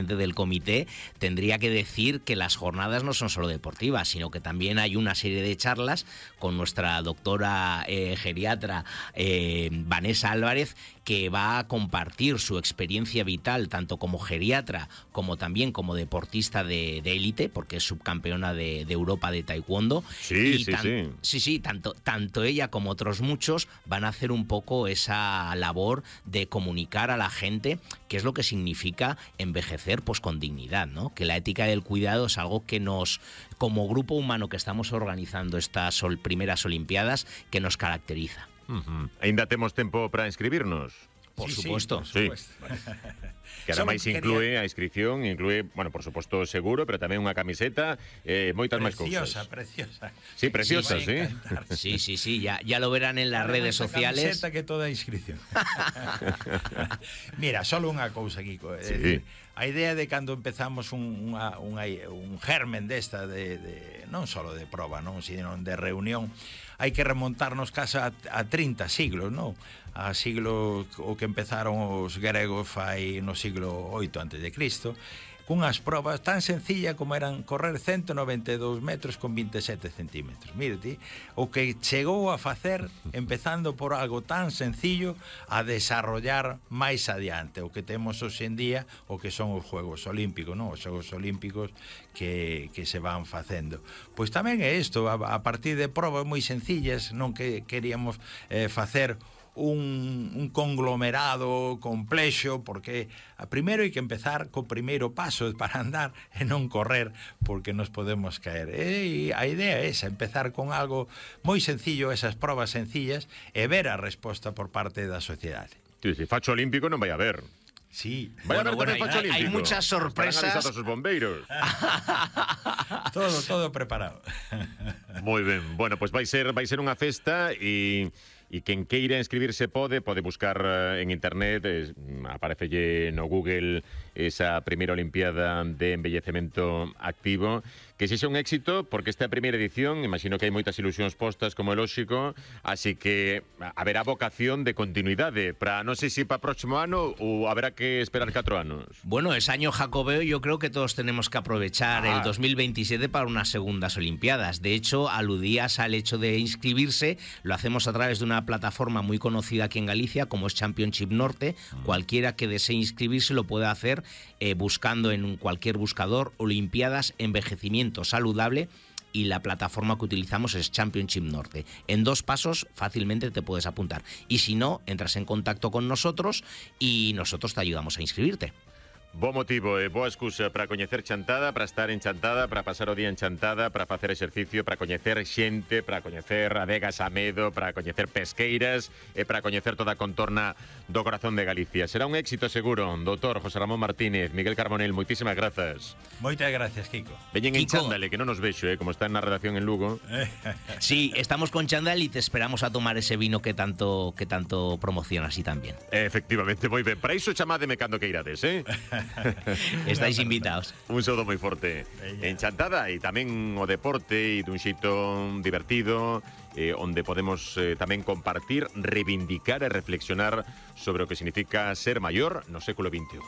del comité tendría que decir que las jornadas no son solo deportivas, sino que también hay una serie de charlas con nuestra doctora geriatra Vanessa Álvarez, que va a compartir su experiencia vital tanto como geriatra como también como deportista de élite, porque es subcampeona de Europa de taekwondo. Sí. Tanto ella como otros muchos van a hacer un poco esa labor de comunicar a la gente qué es lo que significa envejecer pues con dignidad, ¿no? Que la ética del cuidado es algo que nos, como grupo humano que estamos organizando estas primeras Olimpiadas, que nos caracteriza. Ainda temos tempo para inscribirnos? Por supuesto. Sí. Que ademais inclúe a inscripción, inclúe, bueno, por suposto o seguro, pero tamén unha camiseta, moitas máis cousas. Preciosa. Sí, preciosa, sí. Sí, ya lo verán en las redes sociales. Camiseta que toda inscripción. Mira, solo unha cousa, Kiko. Sí. A idea de cando empezamos un germen desta non solo de proba, non, sino de reunión, hai que remontarnos casi a 30 siglos, non? A siglo o que empezaron os gregos fai no siglo 8 antes de Cristo, cunhas probas tan sencillas como eran correr 192 metros con 27 centímetros. Mírate, o que chegou a facer, empezando por algo tan sencillo, a desarrollar máis adiante o que temos hoxe en día, o que son os Juegos Olímpicos, non? Os Xogos Olímpicos que se van facendo. Pois tamén é isto, a partir de probas moi sencillas, non que queríamos facer un conglomerado complexo, porque primeiro hai que empezar co primeiro paso para andar e non correr, porque nos podemos caer. E a idea é esa, empezar con algo moi sencillo, esas probas sencillas, e ver a resposta por parte da sociedade. Sí, facho olímpico non vai a haber. Sí. Bueno, hay muchas sorpresas. Estarán avisados os bombeiros. todo preparado. Moi ben. Bueno, pues vai ser unha festa e quen queira inscribirse pode buscar en internet, aparecelle no Google esa primeira Olimpiada de envellecemento activo, que sexa un éxito, porque esta é a primeira edición, imagino que hai moitas ilusións postas, como é lóxico, así que haberá vocación de continuidade para, non sei se para o próximo ano ou haberá que esperar 4 anos. Bueno, es año jacobeo, yo creo que todos tenemos que aprovechar el 2027 para unas segundas Olimpiadas. De hecho, aludías al hecho de inscribirse, lo hacemos a través de una plataforma muy conocida aquí en Galicia, como es Championship Norte. Cualquiera que desee inscribirse lo puede hacer buscando en cualquier buscador Olimpiadas Envejecimiento Saludable, y la plataforma que utilizamos es Championship Norte. En 2 pasos fácilmente te puedes apuntar, y si no, entras en contacto con nosotros y nosotros te ayudamos a inscribirte. Bo motivo e boa excusa para coñecer Chantada, para estar en Chantada, para pasar o día en Chantada, para facer exercicio, para coñecer xente, para coñecer adegas a medo, para coñecer pesqueiras e para coñecer toda a contorna do corazón de Galicia. Será un éxito seguro. Doutor José Ramón Martínez, Miguel Carbonell, moitísimas grazas. Moitas gracias, Kiko. Veñen en chándale, que non nos vexo, como está na redacción en Lugo. Sí, estamos con chándal y te esperamos a tomar ese vino que tanto promocionas y también. Efectivamente, moi ben. Para iso chamádeme cando que irades, Estáis invitados. Un saúdo moi forte. Enchantada, e tamén o deporte e dun xeito divertido, onde podemos tamén compartir, reivindicar e reflexionar sobre o que significa ser maior no século XXI.